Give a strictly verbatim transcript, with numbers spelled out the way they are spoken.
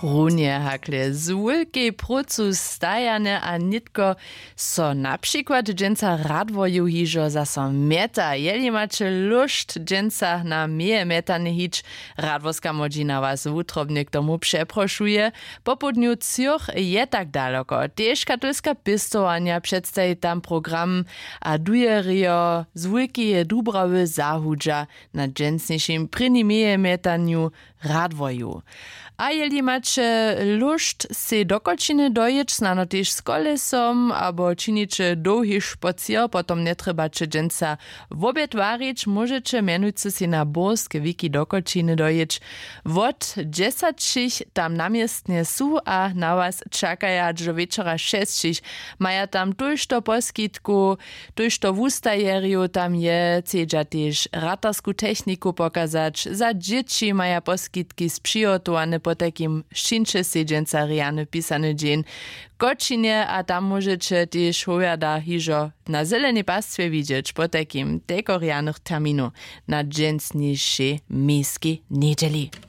Runje hakle z wulkej prócu stajane a nětko so na přikład dźensa radworju hižo zaso mjeta. Jeli maće lóšt dźensa na měje mjetanje hić, radworska młodźina was wutrobnje k tomu přeprošuje. Popołdnju třoch je tak daloko tež katolska pěstowanja předstaji tam program, a dujerjo z wulkeje dubrawy zahudźa na dźensnišim prěnim měje mjetanju radworju. A jeli maće lóšt sej do kočiny dojěć snano tež z kolesom abo činiće dołhi špocěr, potom njetrjebaće dźensa wobjed warić, móžeće mjenujcy sej na burske wiki do kočiny dojěć. Wot dźesaćich tam na městnje su a na was čakaja hač do wječora šesćich. Maja tam tójšto poskitkow, tójšto wustajerjow tam je, chcedźa tež ratarsku techniku pokazać. Za dźěći maja poskitki z přihotowane potajkim. Sćińće sej dźensa rjany pisany dźeń w kočinje a tam móžeće tež howjada hižo na zelenej pastwje widźeć potajkim tejko rjanych terminow na dźensnišej mějskej njedźeli.